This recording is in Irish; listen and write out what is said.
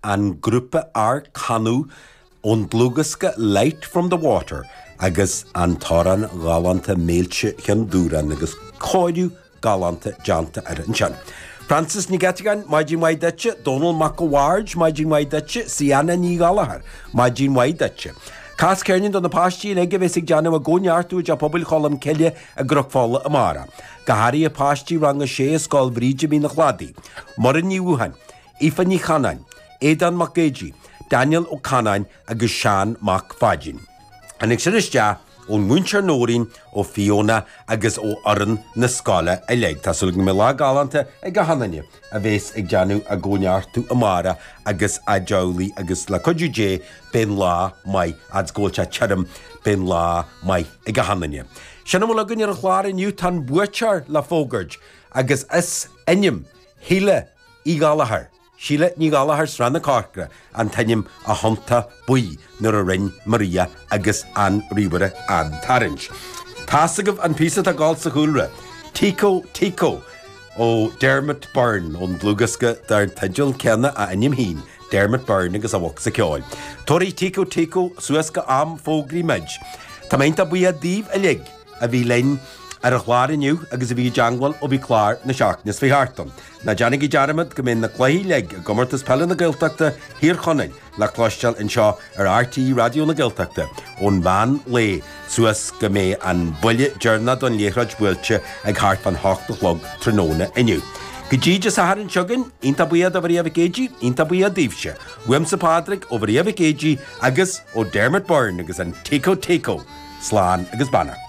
an grúpa Ár Canadh ón dlúthdhiosca Light From The Water agus an t-amhrán galánta Méilte Chionn Dúráin agus cóiriú galánta déanta air ansin. Frances Nic Eiteagáin, maidin mhaith duitse. Dónal Mac a' Bhaird, maidin mhaith duitse. Siana Ní Ghallchóir, maidin mhaith duitse. Cas ceirnín do na páistí uilig a bheas ag déanamh a gcóineartú i dTeach Pobail Cholm Cille i gCnoc Fola amárach. Go háirithe páistí rang a sé i Scoil Bhríde Mín an Chladaigh. Muireann Ní Bhuacháin, Aoife Ní Chanáin, Aodán Mac Géidigh, Daniel Ó Canáin agus Seán Mac Pháidín. Tháinig sin isteach ón Múinteoir Nóirín, ó Fiona agus ó fhoireann na scoile uilig. Tá súil agam go mbeidh lá galánta ag achan duine a bhéas ag déanamh a gcóineartú amárach agus a dteaghlaigh agus le cuidiú Dé beidh an lá maith fhad 's go bhfuil sé tirim beidh an lá maith ag achan duine. Sin a bhfuil againn ar an chlár inniu. Tá an buaiteoir le fógairt agus is ainm Shíle Uí Ghallchóir. Síle Ní Ghallchóir, Srath na Corcra, an t-ainm a thiontaigh buí nuair a rinn Maria agus an ríomhaire an tarraingt. Tá's agaibh an píosa atá ag gabháil sa chúlra, Tico Tico ó Dermot Byrne ón dlúthdhiosca dar teideal céanna a ainm féin, Dermot Byrne agus a bhocsa ceoil. Tabharfaidh Tico Tico suas go am fógraí muid. Tá mé iontach buíoch daoibh uilig. a bhí linn ar an chlár inniu agus a bhí i dteangmháil ó bhí clár na seachtaine seo thart ann. Ná déanaigí dearmad go mbeidh na cluichí uilig i gComórtas Peile na Gaeltachta Thír Chonaill le cloisteáil anseo ar RTÉ Raidió na Gaeltachta ón mheán lae suas go mbeidh an buille deireanach don liathróid buailte ag thart fán hocht a chlog tráthnóna inniu. Go dtí Dé Sathairn seo chugainn, iontach buíoch do Mharia Mhic Géidigh, iontach buíoch daoibhse. Uaimse Pádraig, ó Mharia Mhic Géidigh agus ó Dermot Byrne agus an Tico Tico. Slán agus beannacht.